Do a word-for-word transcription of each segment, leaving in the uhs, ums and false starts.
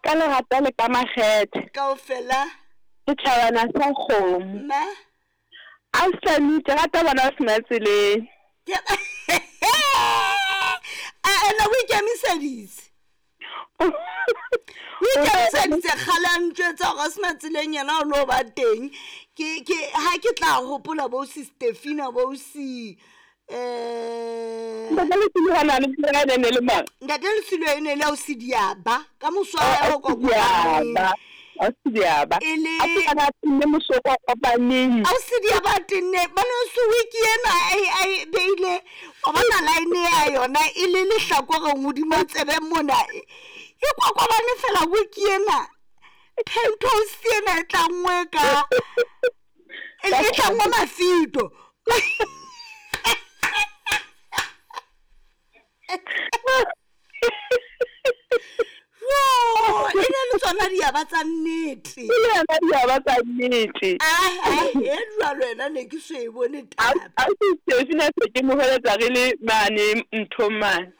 Ka lerata le ka makgethe. Kaofela. Setjhabana sa kgomo. Ma. Ausi, ke rata bona o sena tseleng. A ena o ikemiseditse. O ikemiseditse kgale a ntjwetsa hore a sena tseleng yena o lo ba teng. Ke ke ha ke tla hopola bo si Stefina bo si eh Ntate Lesilo hana le tsela e ne le mang? Ntate Lesilo e ne le ausi Diaba ka moso wa hae o kokobaneng. Ausi Diaba. E le A tsena tenne moso o kopaneng. Ausi Diaba tenne ba no se wiki ena ai ai beile wa bona line ya yona e le lehlakoreng hodima tsebe mona. E kokobane fela wiki ena. Penthouse ena e tlangwe ka e tlangwe mafito. Jo, e ne le tsona diaba tsa nnete. E le yona diaba tsa nnete. Ah, ah, e jwalo ena ne ke so e bone taba. Ausi Stefina se ke mo heletsa re le mane nthong mane.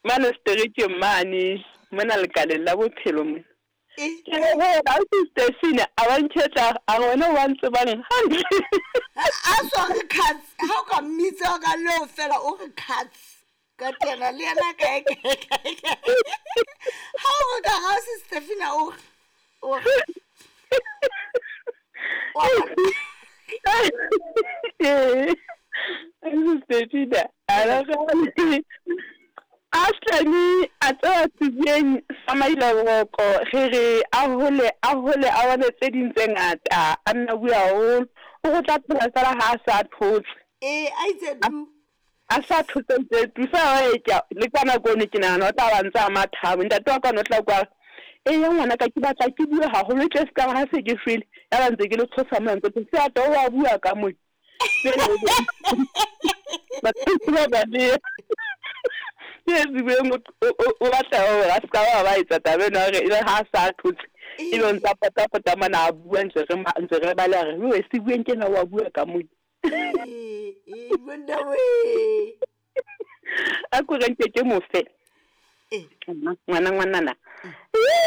Mane seterekeng mane, mona lekaleng la bophelo mona. E. Ke re he, ausi Stefina a ba nketla a re wena wa ntsebang hantle. A so re cuts, ha o ka mmitsa ka leo fela o re cuts. Ka tena le yena kae kae kae kae. Ha o re ka ha se Stefina o re o re Ausi Stefina a re Aslani a tseba tsebeng sa mailaboroko re re a hole a hole a bone tse ding tse ngata a nna bua haholo o go tla phela fela ha a sa thotse. Eh, a itse tu. A sa thotse ntse tu fa e ke le ka nako ne ke nahana o tla ba ntse a mathabo ntate wa ka no tla kwa e ya ngwana ka ke batla ke bua haholo ke se ka ha se ke shwele ya ba ntse ke le tshosa mo ntse se a to wa bua ka mo. Batho ba ba le ke tsebeng o batla hore a se ka ba ba etsa taba ena hore ebe ha a sa thotse ebe o ntsa potapota mona a bua ntse re ntse re bala re we se bueng ke na wa bua ka mo. Eh, eh, monna we. A ko re nke ke mofe. Eh. Ngwana ngwanana.